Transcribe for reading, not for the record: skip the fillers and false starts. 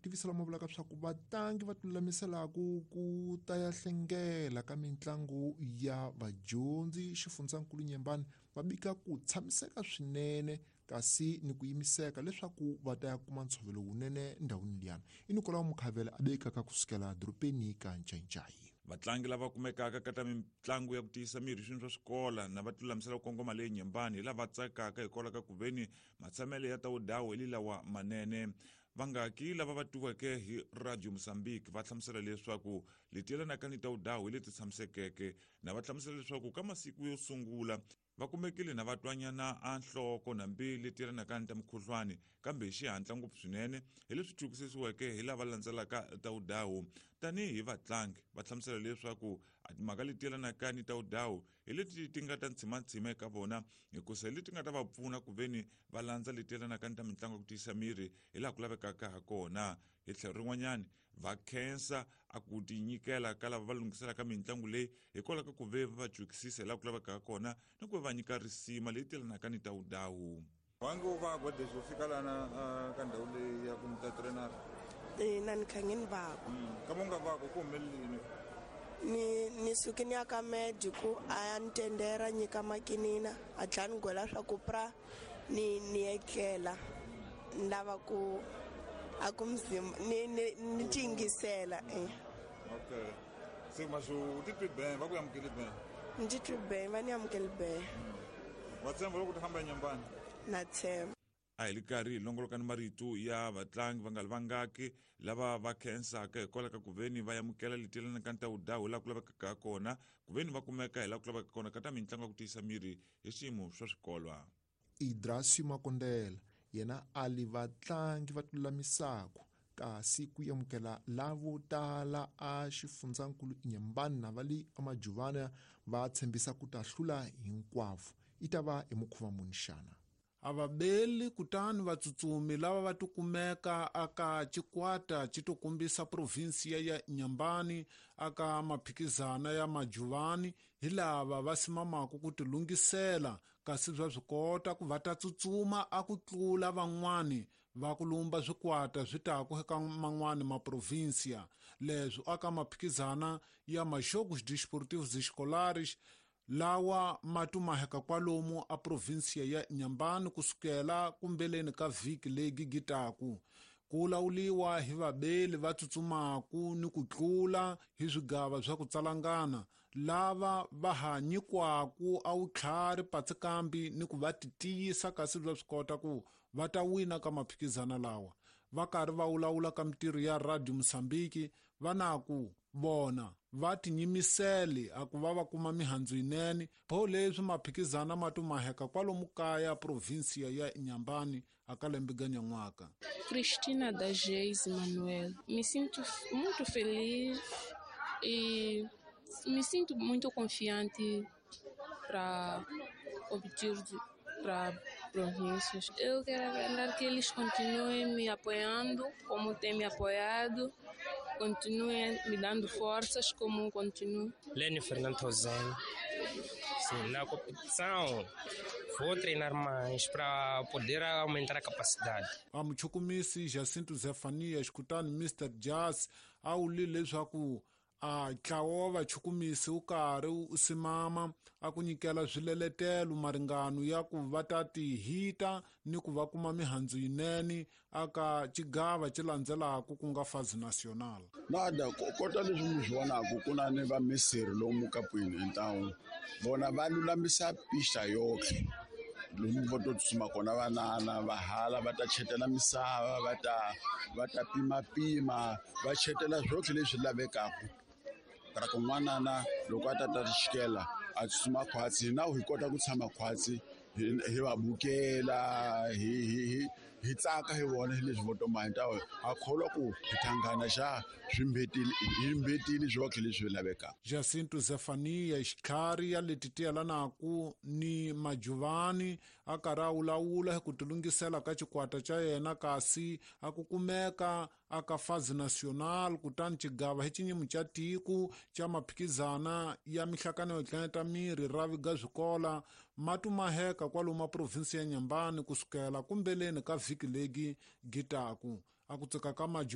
tivisa lama vulaka swa ku vatlangi va tilulamiselaku ku ta ya hlengela ka mitlangu ya vadyondzi xifundzankulu Nyembani va bika ku tshamiseka swinene kasi ni ku yimiseka leswaku va ta ya kuma ntshovelo wunene ndhawini liyana. I Nikolao Mukhavela a bekaka kusukela dorobeni ka Ncayicayi. Vatlangi lava kumekaka ka ta mitlangu ya ku tiyisa miri swini swa swikola na va tilulamisela ku kongoma le Nyembani hi lava tsakaka hikwalaho ka ku veni matshamelo ya tawudawu hi lawa manene. Vangaki lava va twiweke hi Radio Mozambique va hlamusela leswaku leti yelanaka ni tawudawu hi leti tshamisekeke, na va hlamusela leswaku ka masiku yo sungula va kumekile na va twanyana a nhloko nambi leti yelanaka ni ta mukhuhlwani, kambe hi xihatla ngopfu swinene hi leswi twisisiweke hi lava landzelaka tawudawu tanihi vatlangi. Va hlamusela leswaku a timhaka leti yelanaka ni tawudawu hi leti ti nga ta ntshimantsima eka vona, hikusa hi leti nga ta va pfuna ku veni va landza leti yelanaka ni ta mitlangu ya ku tiyisa miri hi laha ku lavekaka ha kona. Hi tlhelo rin'wanyani va khensa a ku tinyikela ka lava va lunghiselaka mitlangu leyi hikwalaho ka ku ve va va cwikisisa hi laha ku lavekaka kona ni ku va va nyika risima leyi telanaka ni tawudawu. Wange u va gwedesho fika lana ka ndhawu leyi ya ku ni ta trainer? Ina, ni kha ngi ni vako. Kama u nga vako ku humelelini? Ni suke ni ya ka med ku a ya ni tendera nyika makinina a tlhela ni gwela swa ku pra ni etlela ni lava ku a ku mzimba ni tingisela. Okay. Se masho u titwi ben, va ku amukeli ben? Ni titwi ben, va ni amukeli ben. Wa tshemba loko u ta famba eNyembani? Na tshemba. A hi li karhi hi longoloka ni marito ya vatlangi va nga li vangaki lava va khensaka hikwalaho ka ku veni va amukela leti yelanaka ni tawudawu hi laha ku lavekaka kona, ku veni va kumeka hi laha ku lavekaka kona ka ta mitlangu ya ku tiyisa miri hi swiyimo swa swikolwa. Idrasio Makondela yena a li vatlangi va tilulamisaku kasi ku amukela lavo tala a xifundzankulu Nyembani na va le eMajuvana va tshembisa ku ta hlula hinkwavo. I ta va hi mukhuva muni xana? A va beli kutani vatsutsumi lava va tikumeka aka xikwata xi to kombisa provinsiya ya Nyembani aka maphikizana ya Majuvani hi lava va simamaka ku tilunghisela, kasi bya swi kota ku va ta tsutsuma a ku tlula van'wani va ku lumba swikwata swi taku eka man'wani maprovinsiya. Leswi aka maphikizana ya Jogos Desportivos Escolares lawa ma tumaheka kwalomu a provinsiya ya Nyembani kusukela kumbeleni ka vhiki leyi gigitaku, ku lawuliwa hi vabeli va tsutsumaku ni ku tlula hi swigava swa ku tsalangana lava va ha nyikwaku a wutlhari patsikambi ni ku va titiyisa, kasi bya swi kota ku va ta wina ka maphikizana lawa. Va karhi va wulawula ka mitirho ya Radio Mozambique va na ku vona va tinyimisele a ku va va kuma mihandzu yinene, pho leswi maphikizana ma tumaheka kwalomu kaya provinsiya ya Nyembani a ka lembe ga nyan'waka. Cristina da Geis Manuel. Me sinto muito feliz e me sinto muito confiante para obter para províncias. Eu quero aguardar que eles continuem me apoiando como têm me apoiado, continuem me dando forças como continuam. Lênio Fernando Rosen. Sim, na competição vou treinar mais para poder aumentar a capacidade. A muchukumisi Jacinto Zefanias kutani Mr Jazz a wuli leswaku a ntlawa wa vachukumisi wu karhi wu simama a ku nyikela swileletelo maringano ya ku va ta tihita ni ku va kuma mihandzu yinene aka xigava xi landzelaka ku nga Fazi Nacional. Nada kota leswi mi swi vonaka ku na ni va misiri lomu kapwini hi ntawu vona va lulamisa pista yoxe lomu vo to tsutsuma kona vanana va hala va ta chetela misava va ta pimapima va chetela swotlhe leswi lavekaka ra ku n'wanana loko a ta ta xikela a tsutsuma khwatsi na hi kota ku tshama khwatsi hi va bukela hi tsaka hi vona hi leswi vo toma hi ta ha kholwa ku hi thangana xa swi hi mbetile swotlhe leswi lavekaka. Jacinto Zefania xitlhari ya leti tiyelanaku ni Majuvani a karhi a wulawula hi ku tilunghisela ka xikwata xa yena, kasi a ku kumeka aka Fazi Nacional kutani xigava hi xinyimu xa tiko xa maphikizana ya mihlakano yo tleneta miri ra viga swikola ma tumaheka kwalomu provinsi ya Nyembani kusukela kumbeleni ka vhiki legi gitaku a ku tsika ka Majuvani.